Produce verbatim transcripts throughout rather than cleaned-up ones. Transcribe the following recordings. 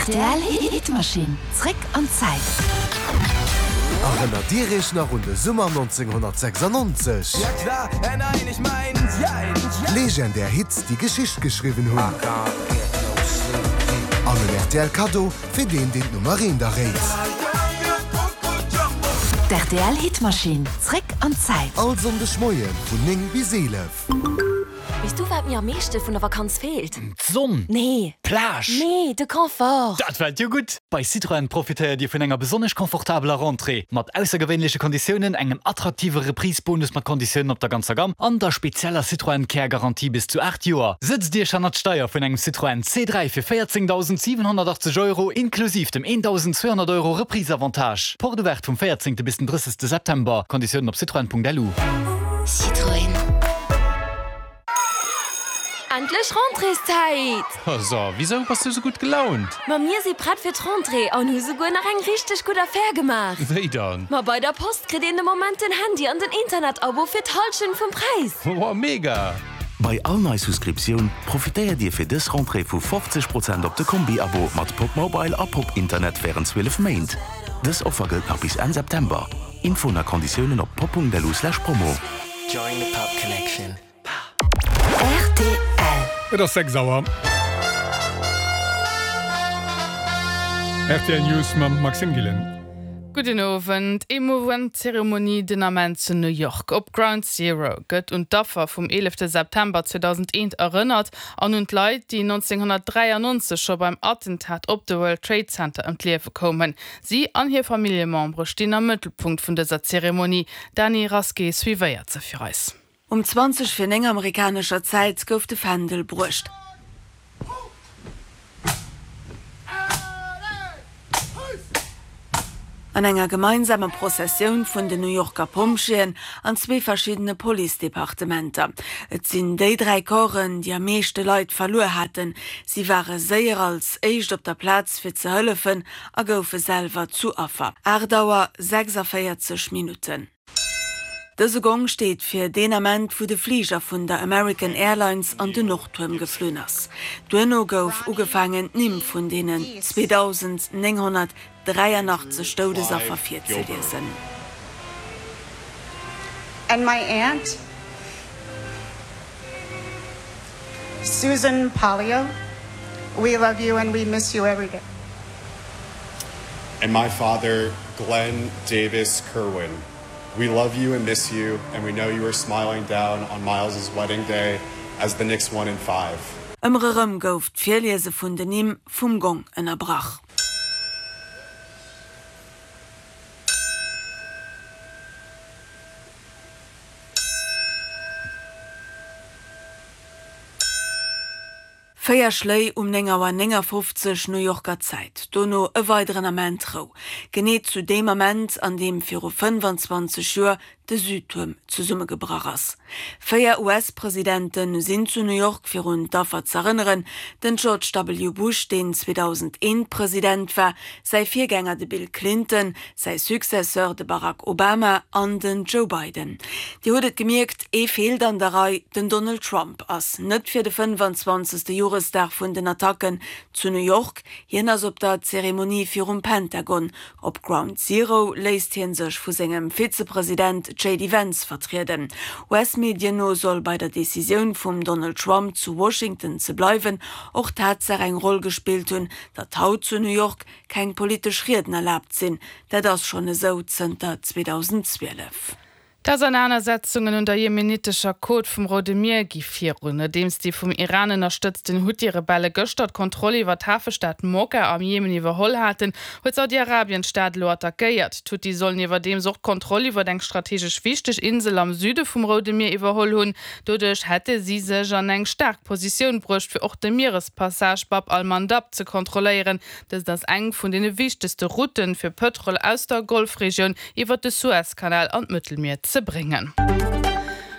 Rtl Hitmaschinn, zréck an d'Zäit. Erënnert Dir Iech nach un de Summer nonzénghonnertsechsannonzeg? Legendär Hits, déi Geschicht geschriwwen hunn. An en rtl Kaddo fir deen, deen d'Nummer eent erréit. D'RTL Hitmaschinn, zréck an d'Zäit. All Sonndeg Moie vun néng bis eelef. Weess du, wat mir am meeschte vun der Vakanz feelt? D'Sonn! Nee. D'Plage! Nee, de Confort! Dat fält jo gutt! Bei Citroën profitéiert Dir vun enger besonnesch confortabeler Rentrée, mat aussergewéinleche Konditiounen, engem attraktive Reprise-Bonus mat Konditiounen op der ganzer Gamm an der spezieller Citroën Care Garantie bis zu aacht Joer. Sëtzt Iech hannert d'Steier vun engem Citroën C dräi fir véierzéngdausend siwenhonnertachtzeg Euro inklusiv dem eendausend zweehonnert Euro Reprise-Avantage. Porte ouverte vum véierzéngte bis den drëssegste September. Konditiounen op citroën.lu. Citroën. Endlech Rentréeszäit! So, wisou bass du sou gutt gelaunt? Ma mir si prett fir d'Rentrée an hu souguer nach eng richteg gutt Affär gemaach. Wéi dann? Ma bei der Post kritt een de Moment den Handy an den Internetabo fir d'Hallschent vum Präis. Wow, mega! Bei all nei Souscriptioun profitéiert Dir fir dës Rentrée vu fofzeg Prozent op de Kombi-Abo mat Pop Mobile a Pop Internet wärend zwielef Méint. Dës Offer gëllt nach bis Enn September. Infoen a Konditiounen op pop Punkt lu slash promo. Join the Pop Connection. R T L. Et ass sechs Auer. R T L News mam Maxime Gillen. Gudden Owend. Emouvant Zeremonie den Ament zu New York. Op Ground Zero gëtt un d'Affer vum eelefte September zweedausendeen erënnert an un d'Leit, déi nonzénghonnertdräiannonzeg scho beim Attentat op de World Trade Center ëm d'Liewe koumen. Si an hir Familljemembere stinn am Mëttelpunkt vun dëser Zeremonie. D'Dany Rasqué suivéiert se fir eis. Um zwanzeg vir néng amerikanescher Zäit gouf de Fändel bruecht. An enger gemeinsamer Prozessioun vun den New Yorker Pompjeeën an zwee verschiddene Policedepartementer. Et sinn déi dräi Corpsen, déi am meeschte Leit verluer haten. Si ware séier als éischt op der Plaz fir ze hëllefen a goufe selwer zu Affer. Aacht Auer sechsavéierzeg Minutten. Dëse Gong steet fir deen Ament, wou de Fliger vun der American Airlines an den Nordtuerm geflunn ass. Duerno gouf ugefaangen, d'Nimm vun deenen zweedausendnénghonnertdräianachtzeg Doudesaffer virzeliesen. And my aunt, Susan Pollio, we love you and we miss you every day. And my father, Glenn Davis Kerwin, we love you and miss you, and we know you are smiling down on Miles's wedding day as the Knicks won in five. Ëmmer erëm gouf d'Virliese vun den Nimm vum Gong ënnerbrach. Véier Schléi um néng Auer néngafofzeg New Yorker Zäit, dono e weideren Ament Rou. Genee zu deem Ament, an deem viru fënnefanzwanzeg Joer de Südtuerm zesummegebrach ass. Véier U S-Presidente sinn zu New York fir un d'Affer z'erënneren, den George W. Bush, deen zweedausendeen President war, säi Virgänger de Bill Clinton, säi Successeur de Barack Obama an den Joe Biden. Dir hutt et gemierkt, ee feelt an der Rei, den Donald Trump ass net fir de fënnefanzwanzegste Joresdag vun den Attacken zu New York. Hien ass op der Zeremonie virum Pentagon. Op Ground Zero léisst hie sech vu sengem Vizepresident J D Vance vertrieden. U S-Medien no soll bei der Decisioun vum Donald Trump zu Washington ze bleiwen och d'Tatsaach eng Roll gespillt hunn, datt haut zu New York keng politesch Rieden erlaabt sinn. Dat ass schonn esou zënter zweedausendzwielef. D'Ausernanersetzungen un der jemenitescher Côte vum Roude Mier gi virun. Nodeems déi vum Iran ënnerstëtzten Huthi-Rebelle gëschter d'Kontroll iwwer d'Hafestad Mokka am Jemen iwwerholl haten, huet Saudi-Arabien d'Stad elo attackéiert. D'Huthi sollen iwwerdeems och d'Kontroll iwwer eng strategesch wichteg Insel am Süde vum Roude Mier iwwerholl hunn. Doduerch hätte si sech an eng staark Positioun bruecht, fir och de Mierespassage Bab al-Mandab ze kontrolléieren. Dëst ass eng vun deene wichtegste Routen fir Pëtrol aus der Golfregioun iwwer de Suezkanal an d'Mëttelmier ze bréngen.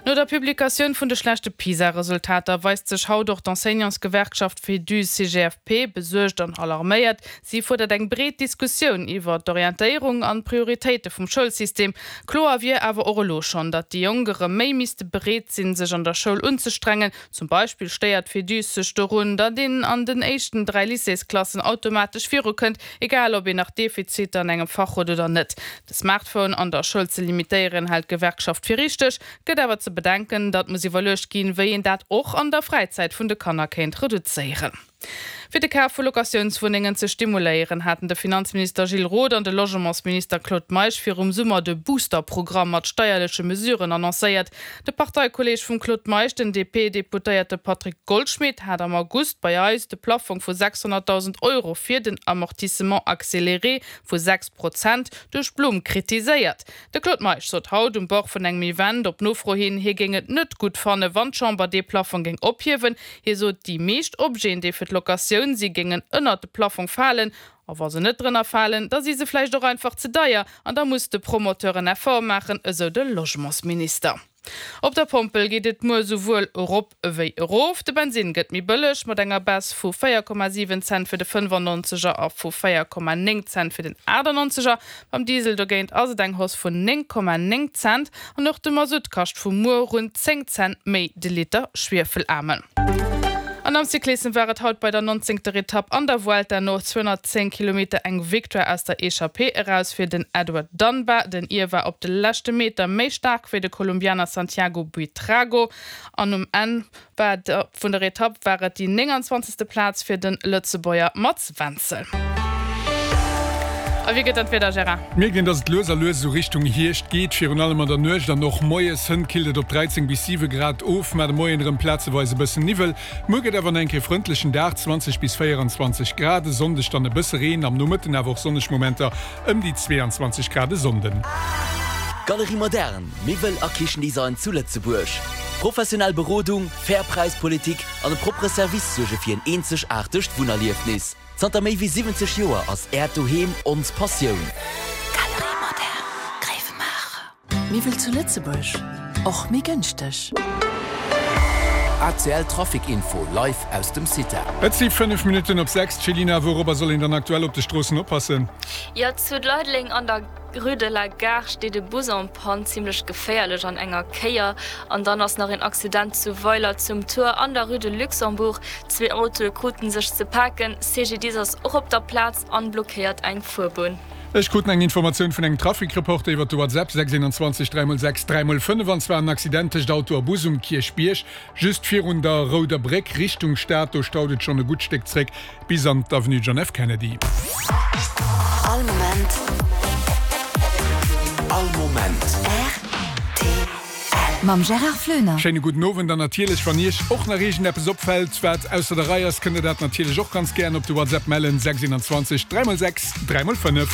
No der Publikatioun vun de schlechte PISA-Resultater weist sech haut och d'Enseignantsgewerkschaft Féduse-CGFP besuergt an alarméiert. Si fuerdert eng breet Diskussioun iwwer d'Orientéierung an d'Prioritéite vum Schoulsystem. Kloer wier awer och elo schonn, datt déi Jonk erëm méi misste bereet sinn, sech an der Schoul unzestrengen. Zum Beispill stéiert d'Féduse sech dorun, datt een an den éischten dräi Lycéesklassen automatesch virukënnt, egal ob een nach Defiziter an engem Fach huet oder net. De Smartphone an der Schoul ze limitéieren, hält d'Gewerkschaft fir richteg, gëtt awer ze bedenken, datt muss iwwerluecht ginn, wéi een dat och an der Fräizäit vun de Kanner kéint reduzéieren. Fir de Kaf vu Locatiounswunnengen ze stimuléieren, haten de Finanzminister Gilles Roth an de Logementsminister Claude Meisch virum Summer de Booster-Programm mat steierleche Mesuren annoncéiert. De Parteikolleeg vum Claude Meisch, den D P-Deputéierte Patrick Goldschmidt, hat am August bei eis de Plaffong vu sechshonnertdausend Euro fir den Amortissement accéléré vu sechs Prozent duerch d'Blumm kritiséiert. De Claude Meisch sot haut um Bord vun engem Event op Nofro hin, hie géing et net gutt fannen, wann d'Chamber dee Plaffong géing ophiewen. Hie sot, déi meescht Objeten, déi fir d'Locatioun si géingen ënnert de Plaffong falen, a wa se net drënner falen, da si se vläicht och einfach ze deier an da muss de Promoteur en Effort maachen, esou de Logementsminister. Op der Pompel geet et muer souwuel erop ewéi erof. De Bensinn gëtt méi bëlleg mat enger Baisse vu véier Komma siwen Cent fir de fënnefannonzeger a vu véier Komma néng Cent fir den achtannonzeger. Beim Diesel dogéint ass et eng Hausse vun néng Komma néng Cent an och de Masutt kascht vu muer un zéng Cent méi de Liter schwiefelaarmen. An am Cyclissem war et haut bei der nonzéngter Etapp an der Vuelta no zweehonnertzéng Kilometer eng Victoire aus der Echappée eraus fir den Edward Dunbar. Den Ir war op de leschte Meter méi staark wéi de Kolumbianer Santiago Buitrago an um Enn vun der Etapp war et déi nénganzwanzegste Plaz fir de Lëtzebuerger Mats Wenzel. A wéi gëtt dat Wieder, Gérard? Mir gesinn, dass et lues a lues esou Richtung Hierscht geet, virun allem an der Nuecht an och moies. Hënt killt et op dräizéng bis siwe Grad of, mä de Moien erëm plazeweis e bëssen Niwwel. Muer gëtt awer nach eng Kéier frëndlechen Dag, zwanzeg bis véieranzwanzeg Grad. E Sonndeg dann e bësse Reen, am Nomëtten awer och sonneg Momenter, ëm déi zweeanzwanzeg Grad e Sonnden. Galerie Moderne, Miwwel a Kichendesign zu Lëtzebuerg. Professionell Berodung, fair Präispolitik an e proppere Service suerge fir en eenzegaartegt Wunnerliefnis. Zanter méi wéi siwwenzeg Joer ass Äert Doheem ons Passioun. Galerie Moderne, Grevenmacher. Miwwel zu Lëtzebuerg, och méi gënschteg. A C L Trafic Info live aus dem CITA. Et si fënnef Minutten op sechs. Céline, wourobber soll een dann aktuell op de Stroossen oppassen? Jo, zu Leideleng an der Rue de la Gare steet e Bus en panne, zimmlech geféierlech an enger Kéier. An dann ass nach een Accident zu Weiler zum Tuer an der Rue de Luxembourg. Zwee Autoe krute sech ze paken. C G D I S ass och op der Plaz an blockéiert eng Fuerbunn. Ech krut eng Informatioun vun engem Trafikreporter iwwer de WhatsApp, sechs eenanzwanzeg dräi mol sechs dräi mol fënnef, an zwar en Accident tëscht Auto a Bus um Kierchbierg, just virun der Rouder Bréck Richtung Stad. Do staut et schonn e gutt Stéck zréck bis an d'Avenue John F. Kennedy. All Moment. All Moment. R T L. Mam Gérard Flöner. Schéine gudden Owend an natierlech, wann Iech och nach iergendeppes opfält, wat ausser der Rei ass, kënnt Dir dat natierlech och ganz gären op de WhatsApp mellen, sechs eenanzwanzeg dräi mol sechs dräi mol fënnef.